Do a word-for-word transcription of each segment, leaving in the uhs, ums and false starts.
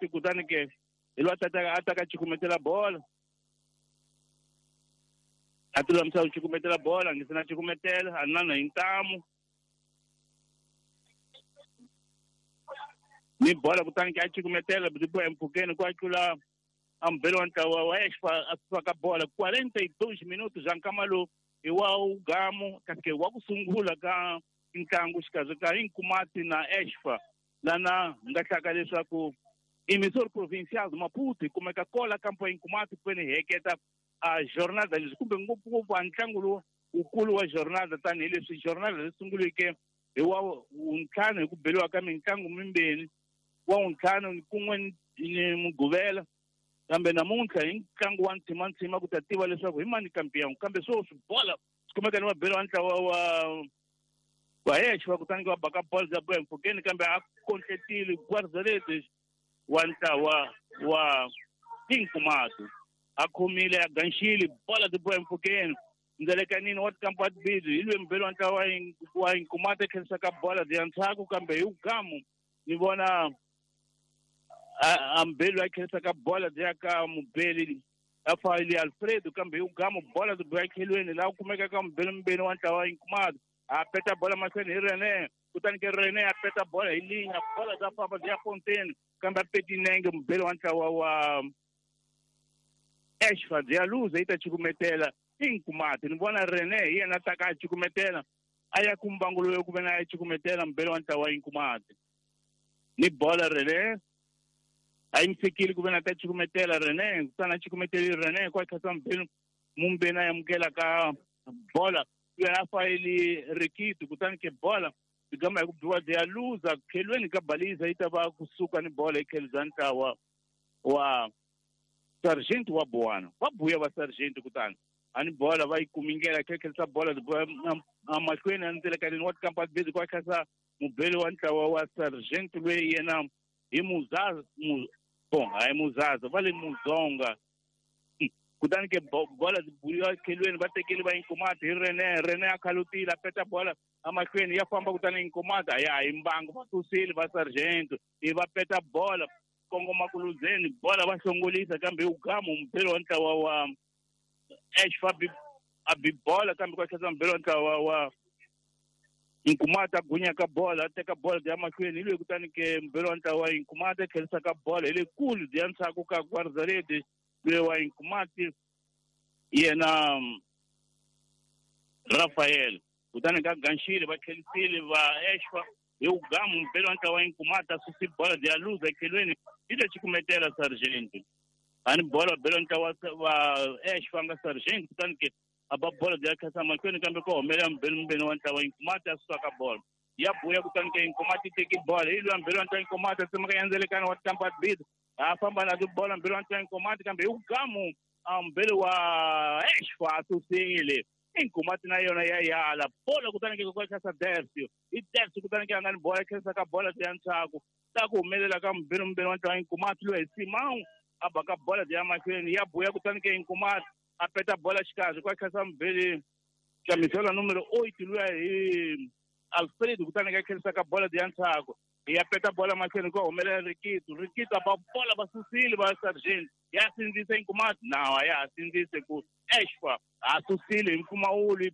Kutani ke hi loyi a tataka a taka cukumetela bola a ti lulamisa ku cukumetela bola ngi se na cukumetela a nana hi ntamu ni bola kutani ke a cukumetela byi empfhukeni ku a tlula a mubeli wa ntlawa wa Exfa a faka bola quarenta e dois minutos za nkama lowu hi wa ugamu kasi ke wa ku sungula ka ntlangu xikarhi ka Inkomati na Exfa lana hi nga hlaka leswaku emissor provincial do Maputo hi kumeka kola kampo ya Inkomati kuveni hi heketa a jornada leswi kumbe ngopfungopfu a ntlangu lowu wukulu wa jornada tanihileswi jornada leyi sunguleke hi wa wuntlhanu hi ku beliwa ka mitlangu mimbirhi wa wuntlhanu kun'we ni Mugqivela kambe namuntlha hi ntlangu wa ntshimantsima ku ta tiva leswaku hi mani kampiyangu kambe sweswi bola swi kumeka ni vabeli wa ntlawa wa wa Exfa kutani va baka bola bya boya mpfhukeni kambe a kontletile guarda-redes wa ntlawa wa Inkomati a khomile a ganxile bola byi boya mpfhukeni ndzelekanini wa tikampa tibili hi lwe mubeli wa ntlawa wa Inkomati a tlherisaka bola byi ya ndzhaku kambe hi ugamu ni vona a mubeli a tlherisaka bola byi ya ka mubeli a fayili Alfredo kambe hi ugamu bola byi boya tlhelweni laha ku kumekaka mubeli mubeli wa ntlawa wa Inkomati a peta bola mahlweni hi Rene kutani ke Rene a peta bola hi linya bola bya famba byi ya Fontaine kambe a peti nenge mubeli wa ntlawa wa Exfa byi ya luza yi ta cukumetela Inkomati ni vona Rene hi yena taka a cukumetela a ya ku mbangu loyi ku ve na a cukumetela mubeli wa ntlawa wa Inkomati ni bola Rene a yi mi fikile ku ve na ta cukumetela Rene kutani a cukumeteli Rene ku a khatsa mubeli mumbeni a amukela ka bola yena a fayili Rikiti kutani ke bola byi gama hi ku biwa byi ya luza khelweni ka baliza yi ta va kusuka ni bola hi tlhelo bya ntlawa wa Sargent wa Buwana va buya va Sargent kutani a ni bola va yi kumingela khelekhelisa bola mahlweni a ndzelekanini wa tikampa tibili ku a khatsa mubeli wa ntlawa wa Sargent loyi yena hi Muzaza bon hayi Muzaza va le Muzonga kutani ke bola byi buyiwa khelweni va tekeli va Inkomati hi Rene Rene a khalutile a peta bola amahlweni ya famba kutani Inkomati a ya hi mbangu va susile va Sargent i va peta bola kongoma kuluzeni bola va hlongolisa kambe ugamu mubeli wa ntlawa wa Exfa a bi bola kambe kwa tlhela mubeli wa ntlawa wa Inkomati a gunya ka bola a teka bola bya mahlweni hi loyi kutani ke mubeli wa ntlawa wa Inkomati a tlherisa ka bola hi le kulu bya ndzhaku ka guarda-redes loyi wa Inkomati yena Rafael kutani ka ganxile va tlherisile va Exfa hi ugamu mubeli wa ntlawa wa Inkomati a susi bola bya luza ekhelweni yi le cukumetela Sargent a ni bola bela ntlawa wa Exfa nga Sargent kutani ke a ba bola bya khasa mahlweni kambe ko humelela mubeli mubeli wa ntlawa Inkomati a susa ka bola ya buya kutani ke Inkomati teki bola hi loyi mubeli wa ntlawa Inkomati a tsemaka yandzelekana wa tikampa tibili a famba na tibola mubeli wa ntlawa Inkomati kambe hi ugamu a mubeli wa Exfa a susile Inkomati na yona ya yala bola kutani ke ko khasa Dersio hi Dersio kutani ke a nga ni bola khensa ka bola ya ndzhaku ta ku humelela ka mubeli mubeli wa ntlawa Inkomati loyi hi Simão a baka bola ya mahlweni ya buya kutani ke Inkomati a peta bola xikarhi kwa khasa mubeli camisola numero oito luya hi Alfredo kutani ke khensa ka bola ya ndzhaku ya peta bola mahlweni ku humelela Rikito Rikito a ba bola va susile va Sargent ya sindzisa Inkomati nawa ya sindzise ku Exfa a susile hi mpfumawulo.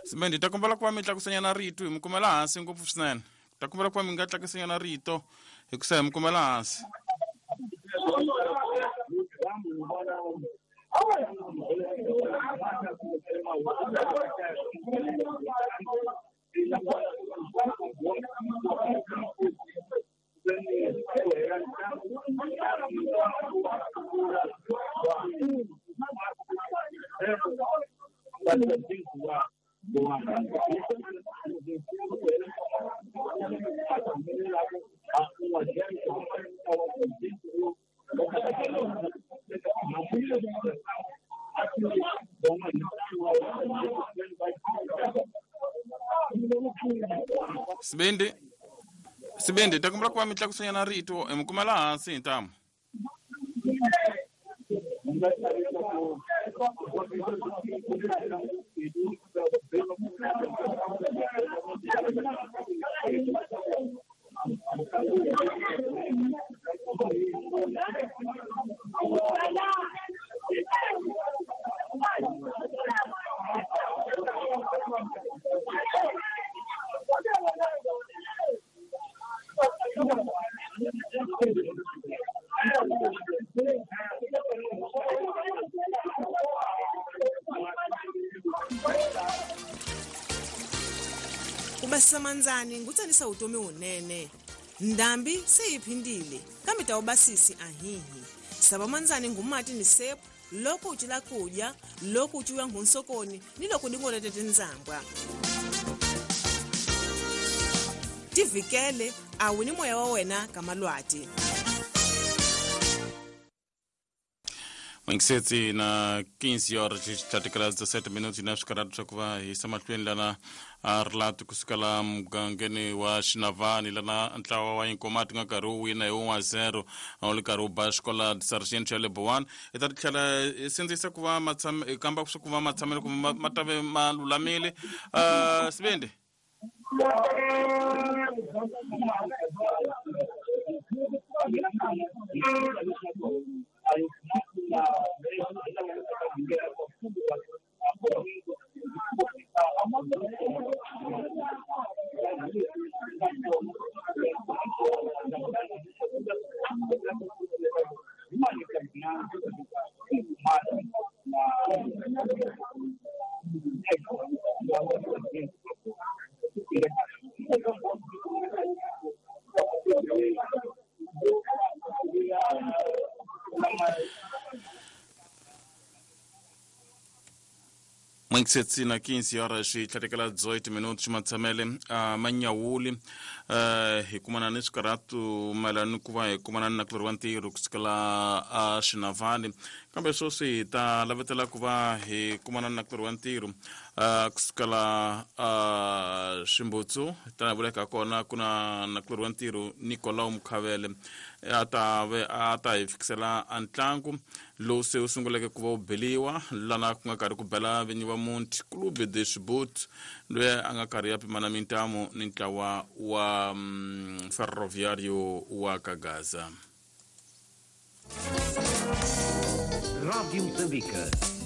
Simende ta kombela ku va mi tlakusanyana rito hi mi kumela hansi ngopfu swinene. Ta kombela ku va mi nga tlakusanyana rito hi ku sa hi mi kumela hansi. Sibindi Sibindi ta kombela ku va mi tlakusanyana rito hi mi kumela hansi hi ntamu. Ubasisa manzani ngutsanisa utomi wunene. Ndambi seyiphindile kambe tawubasisi ahihi. Saba manzani ngumati ni sepu loko ucila kudya loko uciwa ngunsokoni ni loko dingolete tinzambwa. Tivikele awuni moya wa wena kamalwati. Mwingiseti na quinze horas e dezessete minutos na swikaratu swa ku va hi yisa mahlweni lana a rilati kusukela mugangeni wa Xinavani lana ntlawa wa Inkomati nga karhi wu wina hi one wa zero a wu ri karhi wu ba xikola Sargent ya le Bowani. Hi ta tlhela hi sindzisa ku va matshame hi kamba swa ku va matshamelo kumbe ma ta ve ma lulamile. Uh, Sibindi Mwingiseti na quinze horas e dezoito minutos matshamele a manyawuli uh, hi kumana ni swikaratu mayelana ni ku va hi kumana na kulori wa ntirho kusukela a Xinavani kambe sweswi hi ta lavetela ku va hi kumana na kulori wa ntirho uh, kusukela uh, Ximbutsu tanihi vuleka kona ku na na kulori wa ntirho Nicolau Mukhavele a ta ve a ta hi fikisela a ntlangu lowu se wu sunguleke ku va wu beliwa lana ku nga karhi ku bela vinyi va Monti Clube de Xibut loyi a nga karhi ya pimana mintamu ni ntlawa wa um, Ferroviário wa Kagaza. Rádio Moçambique.